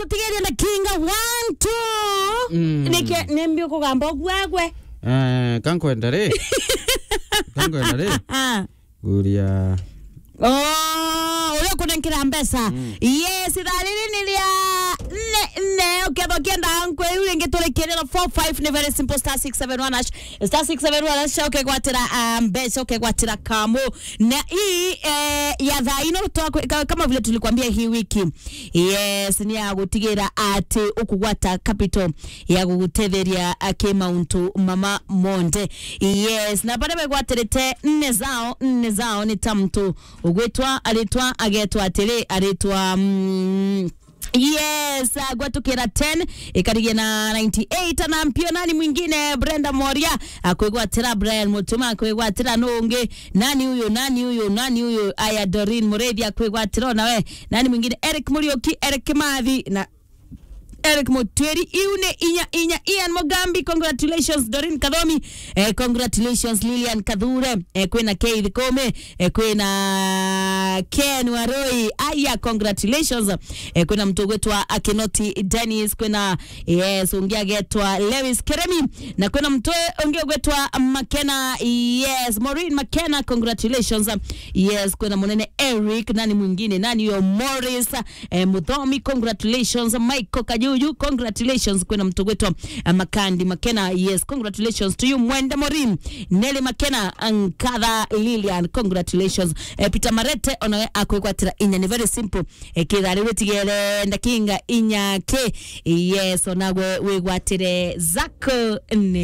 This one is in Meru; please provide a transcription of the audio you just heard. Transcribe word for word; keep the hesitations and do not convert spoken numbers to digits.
Tigeria ndakinga one, two. Mm. Nike, nembi ukugamba ugwagwe. Eh, kankwenda ri. Kankwenda ri. Ah. Kuria. Oh, uria ukunenkera mbeca. Mm. Yes, ithaa riri ni ria nne, nne, ukethwa ukienda nkwe, iu ringi turi kiriro four five ni very simple, star six seven one hash, star six seven one hash, ukegwatira, ah, mbeca, ukegwatira kamu. Na hii, eh, ya thaa ino twa-, ka-, kama vile tulikwambia hii wiki. Yes, ni ya gutigira ati ukugwata capital ya gugutetheria, ah, ki mauntu mama monde. Yes, na baria begwatirite nne zao, nne zao ni ta muntu ugwitwa, aritwa, agetwa atiri, aritwa, mm, yes, ah, gwatukira ten, ikarigia na ninety-eight, na mpio nani mwingine, Brenda Moria, akwigwatira, Brian Mutuma akwigwatira, nungi, nani uyu, nani uyu, nani uyu, aya, Doreen Muriithi akwigwatira, nawe, nani mwingine, Eric Muriuki, Eric Kimathi, na Eric Mutwiri, iu ni inya, inya, Ian Mugambi, congratulations, Doreen Kathomi, eh, congratulations, Lilian Kathure, eh, kwina Keith Kome, eh, kwina Ken Waroi, aya, congratulations, eh, kwina muntu ugwitwa Akinoti Dennis, kwina, yes, ungi agetwa Lewis Keremi, na kwina muntu ungi ugwitwa Makena, yes, Maureen Makena, congratulations, yes, kwina munene Eric, nani mwingine, nani yo Morris, eh, Muthomi, congratulations. Michael Kajuju, congratulations. Kwina muntu gwitwa, eh, Makandi Makena, yes, congratulations to you. Mwende Morim, Nelly Makena, Nkatha Lilian, congratulations. Eh, Peter Marete, onawe akwigwatira inya, ni very simple. Eh, kithari witigere ndakinga inya ki, yes, onagwe wigwatire zako ni